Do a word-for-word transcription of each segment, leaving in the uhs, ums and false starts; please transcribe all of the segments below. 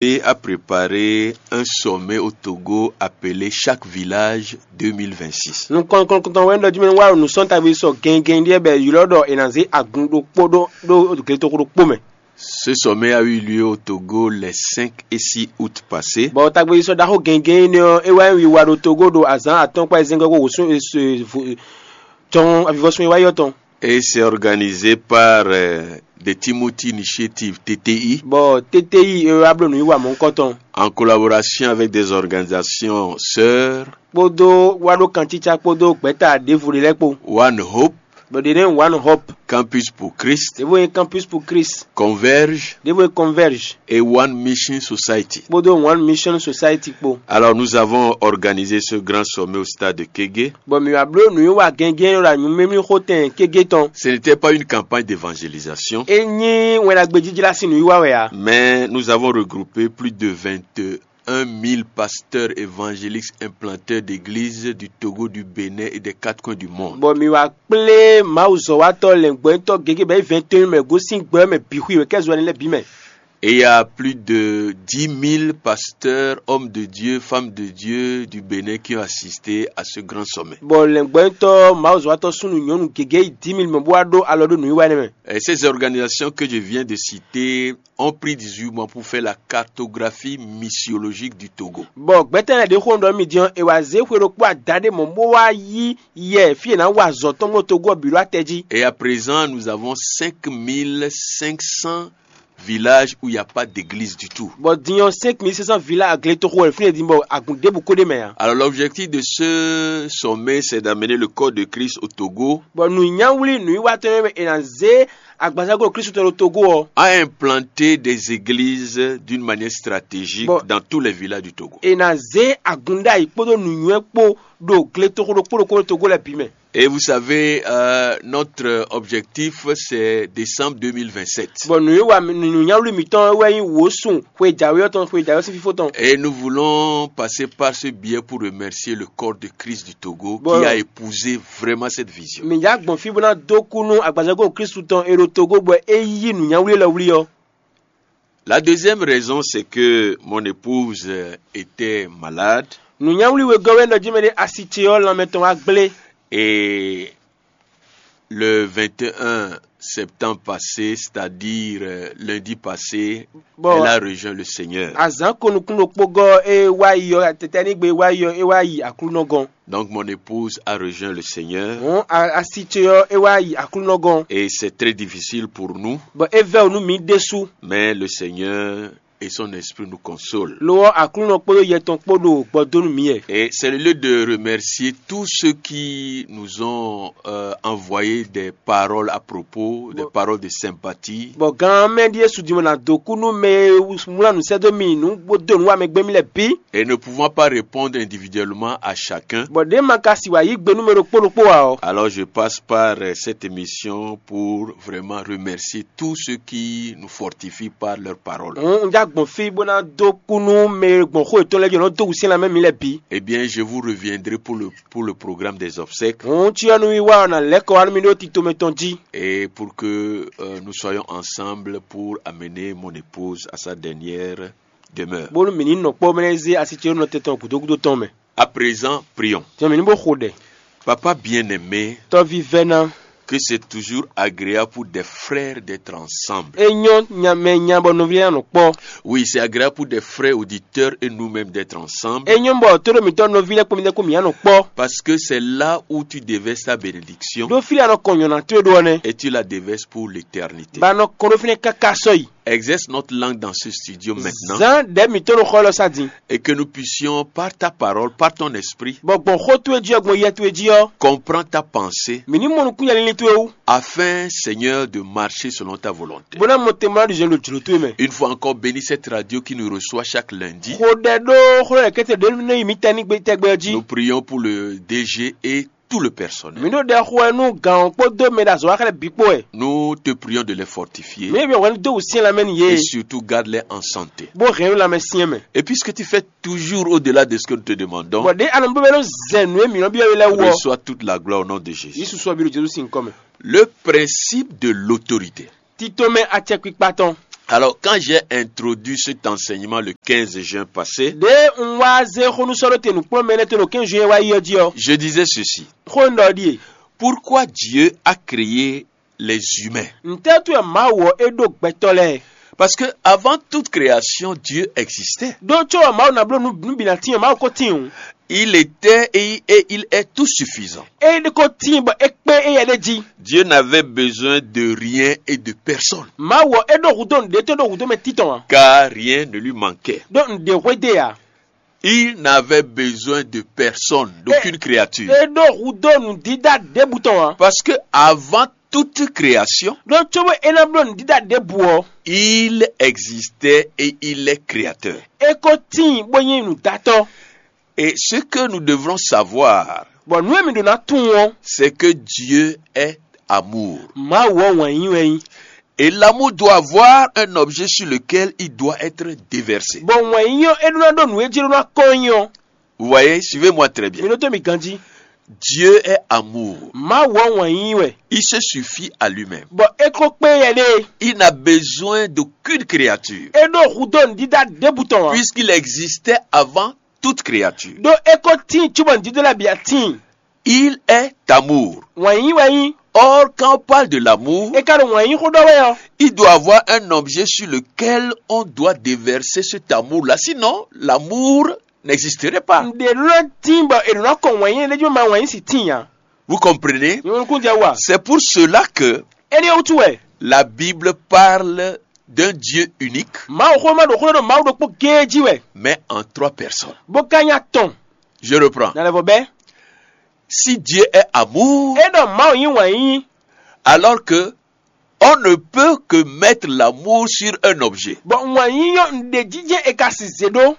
Et a préparé un sommet au Togo appelé Chaque village deux mille vingt-six. Nukɔn kɔnkɔntɔn wɛ ɖɔ jí mɛ wá nǔ sɔn tagbe sɔ gɛngɛn ɖíɛ bɛ ylɔ ɖɔ è nǎ zé agun ɖokpó ɖó ɖó gletoxo ɖokpó mɛ. Ce sommet a eu lieu au Togo les cinq et six août passés. Bɔ tagbe sɔ ɖaxó gɛngɛn énɛ́ ɔ́ é wá nyi wiwa ɖo Togo ɖo azǎn atɔ́ɔ́n kpá ezɛ́ngɔ́ kó wǒsún tɔn avivɔsún e wá yɔ tɔn. Et c'est organisé par euh, the Timothy Initiative T T I. Bɔ T T I e wá bló nǔwiwa mɔ̌hunkɔtɔn En collaboration avec des organisations sœurs, kpódó wá ɖó kancícá kpódó gbɛ̌ta ɖěvo ɖé lɛ́ɛ kpó. One Hope, Bɔ ɖě nɛ́ One Hope, Campus pour Christ, ɖěvo nyí Campus pour Christ, Converge ɖěvo nyí Converge et One Mission Society. Kpódó One Mission Society kpó. Alors nous avons organisé ce grand sommet au stade de Kégué. Bɔ mǐ wá bló nǔwiwa gɛngɛn ɖo anyǔmɛmí xótɛn kégé tɔn. Ce n'était pas une campagne d'évangélisation, É nyí wɛn ɖagbe jíjlá sín nǔwiwa wɛ ǎ. Mais nous avons regroupé plus de vingt-et-un mille pasteurs évangéliques implanteurs d'églises du Togo, du Bénin et des quatre coins du monde. Bɔ mǐ wá kplé mawuzɔ́watɔ́ lɛ̌ngbɔ́nyitɔ́ gěgé bɔ é vɛ̌ntɔ́n mɛ gosín gbɛ ɔ́ mɛ bǐ xwí wɛ kɛ́ zɔnlin lɛ́ɛ bǐ mɛ. Et il y a plus de dix mille pasteurs, hommes de Dieu, femmes de Dieu du Bénin qui ont assisté à ce grand sommet. Bɔ lɛ̌ngbɔ́nyitɔ́ mawuzɔ́watɔ́ súnnu nyɔ̌nu gěgé yi dǐ mil mɛ bó wá ɖó alɔ ɖó nǔwiwa énɛ́ mɛ. Et ces organisations que je viens de citer ont pris dix-huit mois pour faire la cartographie missiologique du Togo. Bɔ gbɛtɛ́ lɛ́ɛ ɖě xó ɖɔ mì din ɔ́, è wǎ zé xwe ɖokpó ada ɖé mɔ̌ bó wá yí yɛ fí è nǎ wa azɔ̌ tɔn gbɔn Togo ɔ́ bǐ ɖo atɛ jí. Et à présent, nous avons cinq mille cinq cents villages où il n'y a pas d'église du tout. Bɔ din ɔ́, cinq mille cinq cents vila agletoxo wɛ fínɛ́ din bɔ agun ɖěbǔ ko ɖ'é mɛ ǎ. Alors l'objectif de ce sommet, c'est d'amener le corps de Christ au Togo. Bɔ nǔnyáwlí nǔwiwatɔ́ e è nǎ zé agbazáglo Kristu tɔn ɖo Togo ɔ́, a implanté des églises d'une manière stratégique dans tous les villages du Togo. È nǎ zé agun ɖ'ayǐ kpódó nǔnywɛ́ kpó ɖo gletoxo ɖokpó ɖokpó ɖo Togo lɛ́ɛ bǐ mɛ. Et vous savez, euh, notre objectif, c'est décembre deux mille vingt-sept. Bɔ nǔwiwa nǔnyáwlí mǐtɔn wɛ nyí wǒsun xwe jǎwe ɔ́ tɔn xwe jǎwe ɔ́ sín fífó tɔn. Et nous voulons passer par ce biais pour remercier le corps de Christ du Togo qui a épousé vraiment cette vision. Mǐ já gbɔn fí bó ná dó kú nú agbazáglo Kristu tɔn e ɖo Togo bɔ é yí nǔnyáwlí élɔ́ wlí ɔ́. La deuxième raison, c'est que mon épouse euh, était malade. Nǔnyáwlí wegɔ́ wɛ nɔ jí mɛ ɖé asi ce ɔ́ lanmɛ tɔn wá gblé. Et le vingt et un septembre passé, c'est-à-dire euh, lundi passé, elle a rejoint le Seigneur. Azǎn ko nukún ɖokpó gɔ́ é wá yi ɔ́ tɛtɛ́nígbe wá yi ɔ́ é wá yi Aklúnɔ gɔ́n. Donc mon épouse a rejoint le Seigneur. Hɔn asi ce ɔ́ é wá yi Aklúnɔ gɔ́n. Et c'est très difficile pour nous. Bɔ é vɛ́ wǔ nú mǐ ɖésú. Mais le Seigneur et son esprit nous consolent. Lo ɔ́ Aklúnɔ kpódó yɛ tɔn kpó ɖo gbɔ dó nú mǐ wɛ. Et c'est le lieu de remercier tous ceux qui nous ont euh, envoyé des paroles à propos, des paroles de sympathie. Bɔ gan mɛ ɖíe sudimɔ ná dó kú nú mɛ e wlán nǔ sɛ́ dó mi nǔ bó dó nǔ wa mɛ gbɛ́ mì lɛ́ɛ bǐ. Et ne pouvant pas répondre individuellement à chacun, bɔ ɖě ma ka si wǎ yí gbe nú mɛ ɖokpó ɖokpó ǎ ɔ́. Alors je passe par euh, cette émission pour vraiment remercier tous ceux qui nous fortifient par leur parole. Un un já gbɔn fí bó ná dó kú nú mɛ e gbɔn xó yětɔn lɛ́ɛ jí nɔ dó wǔsyɛ́n lanmɛ mǐ lɛ́ɛ bǐ. Eh bien, je vous reviendrai pour le, pour le programme des obsèques. Hǔn cyɔ nú wiwa ɔ́ ná lɛ́ kɔ wá nú mì ɖó tito mɛtɔn jí. Et pour que euh, nous soyons ensemble pour amener mon épouse à sa dernière demeure. Bónú mǐ ní nɔ kpɔ́ mɛ lɛ́ɛ zé asi ce nɔ tɛn tɔn gǔdo gúdo tɔn mɛ. À présent, prions. Jɔ mǐ ní bó xo ɖɛ. Papa bien-aimé, Tɔ́ vívɛ́ná, que c'est toujours agréable pour des frères d'être ensemble. É nyɔ́ nya mɛ nya bɔ nɔví lɛ́ɛ nɔ kpɔ́. Oui, c'est agréable pour des frères auditeurs et nous-mêmes d'être ensemble. É nyɔ́ bɔ tóɖó mǐtɔn nɔví lɛ́ɛ kpó mǐtɛn kpó mǐ nɔ kpɔ́. Parce que c'est là où tu déverses ta bénédiction. Ɖó fí la nɔ kɔn nyɔ̌ná towe ɖó ɔ́ nɛ́. Et tu la déverses pour l'éternité. Ba nɔ kɔn ɖó fínɛ́ káká sɔ́yi. Exerce notre langue dans ce studio maintenant. Zán ɖɛ̌ mǐtɔn ɖo xɔ élɔ́ sá din. Et que nous puissions, par ta parole, par ton esprit, Bɔ gbɔn xó towe jí ɔ́, gbɔn yɛ towe jí ɔ́, comprendre ta pensée, mǐ ní mɔ nukúnnya lílí towe wú. Afin, Seigneur, de marcher selon ta volonté. Bó ná mɔ te mɔ ná ɖu zɛ̌n ɖo jlǒ towe mɛ. Une fois encore, bénis cette radio qui nous reçoit chaque lundi. Xo ɖɛ ɖó xó lɛ́ kɛ́tɛ ɖě nú yi mǐ tɛ́ ní gbé tɛgbɛ ɔ́ jí. Nous prions pour le D G et tout le personnel. Mǐ ɖo ɖɛ xo wɛ nú gǎn ɔ́ kpódó mɛ ɖo azɔ̌ wa xlɛ́ bǐ kpó wɛ. Nous te prions de les fortifier. Mǐ ɖo byɔ́ hwɛ nú dó wǔsyɛ́n lanmɛ nú yě. Et surtout garde-les en santé. Bó hɛn nú lanmɛ syɛ́n mɛ. Et puisque tu fais toujours au-delà de ce que nous te demandons, Bɔ ɖě a nɔ bó bɛ́ nɔ zɛ nǔ e mǐ nɔ byɔ́ we lɛ́ɛ wú ɔ́, reçois toute la gloire au nom de Jésus. Yísu sɔ́ bí ɖo Jezu sín nyǐkɔ mɛ. Le principe de l'autorité. Titomɛ acɛkpikpa tɔn. Alors, quand j'ai introduit cet enseignement le quinze juin passé, Ɖěe un wá zé xónúsɔ́ɖóte nǔkplɔ́nmɛ énɛ́ tɔn ɖo quinze juin wá yi ɔ́ jí ɔ́, je disais ceci. Xó un ɖɔ ɖíe: Pourquoi Dieu a créé les humains? Ntɛ́ wútu wɛ Mawu ɔ́ é ɖó gbɛtɔ́ lɛ́ɛ? Parce que avant toute création, Dieu existait. Ɖó có ɔ́, Mawu ná bló nǔ nǔ bǐ ná tíin ɔ́, Mawu ko tíin. Il était et, et il est tout suffisant. É ko tíin bɔ é kpé éyɛ́ ɖé jí. Dieu n'avait besoin de rien et de personne. Mawu ɔ́, é ɖó hudó nǔɖé tó ɖó hudó mɛ títɔn ǎ. Car rien ne lui manquait. Ɖó nǔɖé hwedó ǎ. Il n'avait besoin de personne, d'aucune créature. É ɖó hudó nǔdídá ɖěbǔ tɔn ǎ. Parce que avant toute création, Ɖó cóbɔ é ná bló nǔdídá ɖěbǔ ɔ́, il existait et il est créateur. É ko tíin bó nyí nǔdátɔ́. Et ce que nous devrons savoir, Bɔ nǔ e mǐ ɖó ná tunwun ɔ́, c'est que Dieu est amour. Mawu ɔ́ wǎn yíyí wɛ nyí. Et l'amour doit avoir un objet sur lequel il doit être déversé. Bɔ wǎn yíyí ɔ́, é ɖó ná ɖó nǔ e jí é ɖó ná kɔn nyí ɔ́. Vous voyez, suivez-moi très bien. Mi ɖótó mi ganjí. Dieu est amour. Mawu ɔ́ wǎn yíyí wɛ. Il se suffit à lui-même. Bɔ é ko kpé yɛ ɖée. Il n'a besoin d'aucune créature. É ɖó hudó nǔdídá ɖěbǔ tɔn ǎ. Puisqu'il existait avant toute créature. Ɖó é ko tíin cóbɔ nǔdídó lɛ́ɛ bǐ ǎ tíin. Il est amour. Wǎn yíyí wɛ nyí. Or, quand on parle de l'amour, É ka ɖo wǎn yíyí xó ɖɔ wɛ ɔ́. Il doit avoir un objet sur lequel on doit déverser cet amour-là. Sinon, l'amour n'existerait pas. Nǔɖé ɖó ná tíin bɔ è ɖǒ ná kɔn wǎn yíyí ɖé jí bɔ ma wǎn yíyí sì tíin ǎ. Vous comprenez? Mi mɔ nukúnnú jɛ wú a? C'est pour cela que Énɛ́ ɔ́ wútu wɛ. La Bible parle d'un Dieu unique, Mawuxówéma ɖo xó ɖɔ ɖo Mawu ɖokpó géé jí wɛ, mais en trois personnes. Bó ka nyí atɔn. Je reprends. Ná lɛ́ vɔ bɛ́. Si Dieu est amour, É ɖɔ Mawu nyí wǎn yíyí, alors que on ne peut que mettre l'amour sur un objet. Bɔ wǎn yíyí ɔ́, nǔɖé jijɛ è ka si zě ɖó.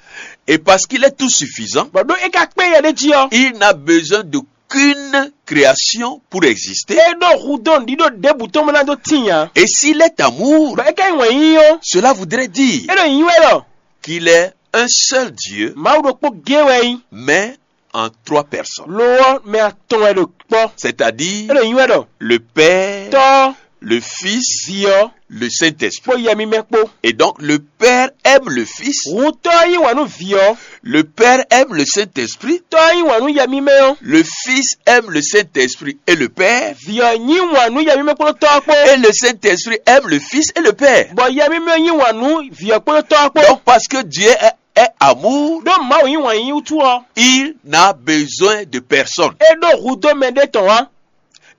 Et parce qu'il est tout suffisant, Bɔ ɖó é ka kpé yɛ ɖé jí ɔ́, il n'a besoin d'aucune création pour exister. É ɖó hudó nǔɖíɖó ɖěbǔ tɔn mɔ ná dó tíin ǎ. Et s'il est amour, Bɔ é ka nyí wǎn yíyí ɔ́, cela voudrait dire É ɖo nyǐ wɛ ɖɔ qu'il est un seul Dieu, Mawu ɖokpó géé wɛ é nyí, mais en trois personnes. Lo ɔ́, mɛ atɔn wɛ ɖo kpɔ́. C'est-à-dire É ɖo nyǐ wɛ ɖɔ le Père, Tɔ́, le Fils, Vǐ ɔ́, le Saint-Esprit. Kpó Yɛ mímɛ́ kpó. Et donc, le Père aime le Fils. Hǔn Tɔ́ ɔ́ yí wǎn nú Vǐ ɔ́. Le Père aime le Saint-Esprit. Tɔ́ ɔ́ yí wǎn nú Yɛ mímɛ́ ɔ́. Le Fils aime le Saint-Esprit et le Père. Vǐ ɔ́ yí wǎn nú Yɛ mímɛ́ kpódó Tɔ́ ɔ́ kpó. Et le Saint-Esprit aime le Fils et le Père. Bɔ Yɛ mímɛ́ ɔ́ yí wǎn nú Vǐ ɔ́ kpódó Tɔ́ ɔ́ kpó. Donc, parce que Dieu est, est amour, Ɖó Mawu nyí wǎn yíyí wútu ɔ́, il n'a besoin de personne. É ɖó hudó mɛ ɖé tɔn ǎ.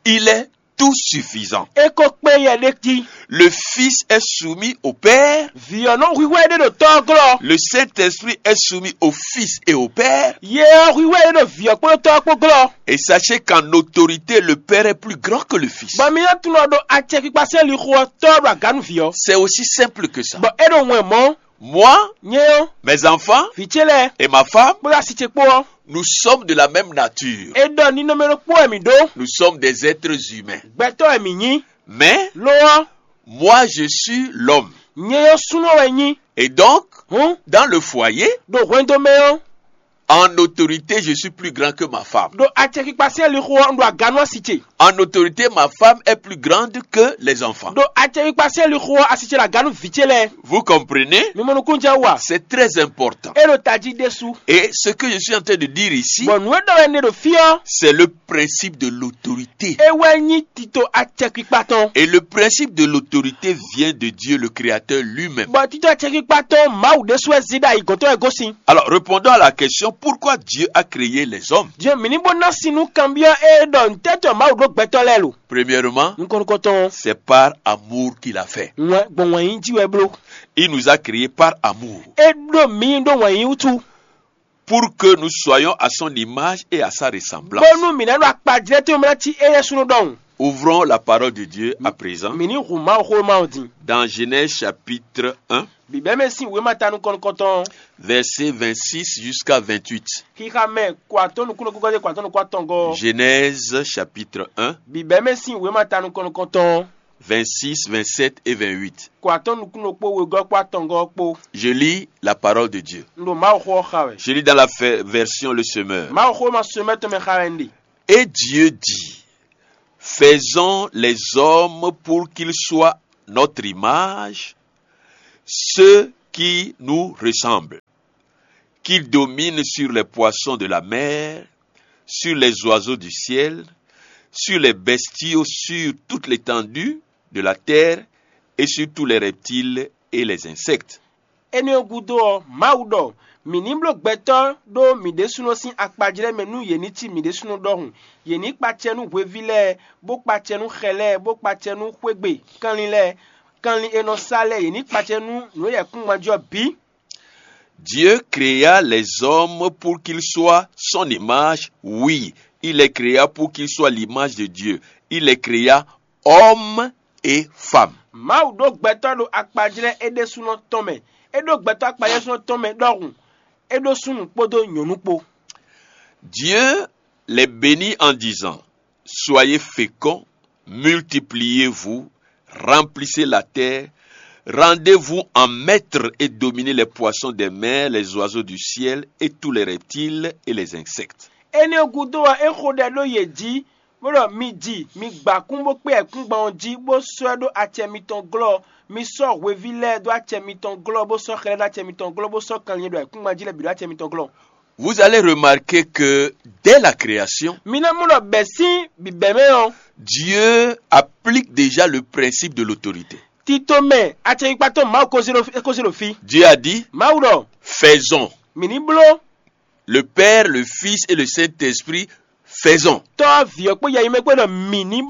Il est tout suffisant. É ko kpé yɛ ɖé jí. Le Fils est soumis au Père. Vǐ ɔ́ nɔ hwíhwɛ́ ɖé ɖo Tɔ́ ɔ́ glɔ́. Le Saint-Esprit est soumis au Fils et au Père. Yɛ ɔ́ hwíhwɛ́ ɖé ɖo Vǐ ɔ́ kpódó Tɔ́ ɔ́ kpó glɔ́. Et sachez qu'en autorité, le Père est plus grand que le Fils. Bɔ mi ná tunwun ɖɔ ɖo acɛkpikpa sín lixo ɔ́, Tɔ́ ɔ́ ɖo aga nú Vǐ ɔ́. C'est aussi simple que ça. Bɔ é ɖo wɛn mɔ̌. Moi, Nyɛ ɔ́, mes enfants vǐ ce lɛ́ɛ, et ma femme, kpódó asi ce kpó ɔ́, nous sommes de la même nature. É ɖɔ ninɔmɛ ɖokpó wɛ mǐ ɖó. Nous sommes des êtres humains. Gbɛtɔ́ wɛ mǐ nyí. Mais Lo ɔ́, moi, je suis l'homme. Nyɛ ɔ́ súnnu wɛ nyí. Et donc, Hǔn, dans le foyer, ɖo hwɛndo mɛ ɔ́, en autorité, je suis plus grand que ma femme. Ɖo acɛkpikpa sín lixo ɔ́, un ɖo aga nú asi ce. En autorité, ma femme est plus grande que les enfants. Ɖo acɛkpikpa sín lixo ɔ́, asi ce ɖo aga nú vǐ ce lɛ́ɛ. Vous comprenez? Mi mɔ nukúnnú jɛ wú a? C'est très important. É ɖo tají ɖésú. Et ce que je suis en train de dire ici, Bɔ nǔ e ɖɔ wɛ un ɖe ɖo fí ɔ́, c'est le principe de l'autorité. É wɛ nyí tito acɛkpikpa tɔn. Et le principe de l'autorité vient de Dieu, le Créateur lui-même. Bɔ tito acɛkpikpa tɔn Mawu ɖésú wɛ zí ɖo ayǐgɔ́ntɔn wɛ gosín. Alors, répondons à la question, pourquoi Dieu a créé les hommes? Diɔ mǐ ní bó ná sin nú kanbyɔ́ e ɖɔ ntɛ́tɔ́ Mawu ɖó gbɛtɔ́ lɛ́ɛ lo. Premièrement, Nukɔn nukɔntɔn, c'est par amour qu'il a fait. Wɛn gbɔn wǎn yí jí wɛ bló. Il nous a créés par amour. É ɖó mǐ ɖó wǎn yí wútu. Pour que nous soyons à son image et à sa ressemblance. Bónú mǐ ná ɖo akpajlɛ́ tɔn mɛ ná cí éyɛ́ súnnu ɖɔhun. Ouvrons la parole de Dieu à présent. Mǐ ní hu Mawu xó Mawu din. Dans Genèse chapitre un, Bǐbɛ́mɛ sín wěma ta nukɔn nukɔntɔn. Verset vingt-six jusqu'à vingt-huit. Xixa mɛ kɔ atɔ́ nukúnnú gɔ́gɔ́ dé kɔ atɔ́ nukún atɔngɔ́. Genèse chapitre un, Bǐbɛ́mɛ sín wěma ta nukɔn nukɔntɔn. Vingt-six, vingt-sept et vingt-huit. Kɔ atɔ́ nukúnnú kpó wegɔ́ kpó atɔngɔ́ kpó. Je lis la parole de Dieu. Un ɖo Mawu xó ɔ́ xa wɛ. Je lis dans la fe- version Le Semeur. Mawu xó ma semɛ tɔn mɛ xa wɛ un ɖe. Et Dieu dit, faisons les hommes pour qu'ils soient notre image, ceux qui nous ressemblent, qu'ils dominent sur les poissons de la mer, sur les oiseaux du ciel, sur les bestiaux, sur toute l'étendue de la terre et sur tous les reptiles et les insectes. Énɛ́ ɔ́ gúdo ɔ́, Mawu ɖɔ: mǐ ní bló gbɛtɔ́ ɖó mǐ ɖésúnɔ sín akpajlɛ́ mɛ nú yě ní cí mǐ ɖésúnɔ ɖɔhun. Yě ní kpacɛ nú hweví lɛ́ɛ, bó kpacɛ nú xɛ lɛ́ɛ, bó kpacɛ nú xwégbé kanlin lɛ́ɛ, kanlin e nɔ sa lɛ́ɛ, yě ní kpacɛ nú nǔ e yɛ kún ŋma jí ɔ́ bǐ. Dieu créa les hommes pour qu'ils soient son image. Oui, il les créa pour qu'ils soient l'image de Dieu. Il les créa homme et femme. Mawu ɖó gbɛtɔ́ ɖo akpajlɛ́ é ɖésúnɔ tɔn mɛ. É ɖó gbɛtɔ́ akpajlɛ́ ɖésúnɔ tɔn mɛ ɖɔhun. É ɖó súnnu kpódó nyɔ̌nu kpó. Dieu les bénit en disant, soyez féconds, multipliez-vous, remplissez la terre, rendez-vous en maître et dominez les poissons des mers, les oiseaux du ciel et tous les reptiles et les insectes. Énɛ́ gúdo ɔ́, é xo ɖɛ ɖó yě jí, bó ɖɔ: mi ji, mi gbǎ kún bó kpé ayǐkúngban ɔ́ jí, bó sɔ́ ɛ ɖó acɛ mitɔn glɔ́. Mi sɔ́ hweví lɛ́ɛ ɖó acɛ mitɔn glɔ́, bó sɔ́ xɛ lɛ́ɛ ɖó acɛ mitɔn glɔ́, bó sɔ́ kanlin e ɖo ayǐkúngban jí lɛ́ɛ bǐ ɖó acɛ mitɔn glɔ́. Vous allez remarquer que dès la création, Mi ná mɔ ɖɔ bɛ̌ sín bǐbɛ́mɛ ɔ́, Dieu applique déjà le principe de l'autorité. Tito mɛ acɛyikpatɔ́ Mawu ko zé ɖo fí- ko zé ɖo fí. Dieu a dit, Mawu ɖɔ: faisons. Mǐ ní bló Le Père, le Fils et le Saint-Esprit, faisons. Tɔ́, Vǐ ɔ́ kpó yɛ nyi mɛ kpó ɖɔ mǐ ní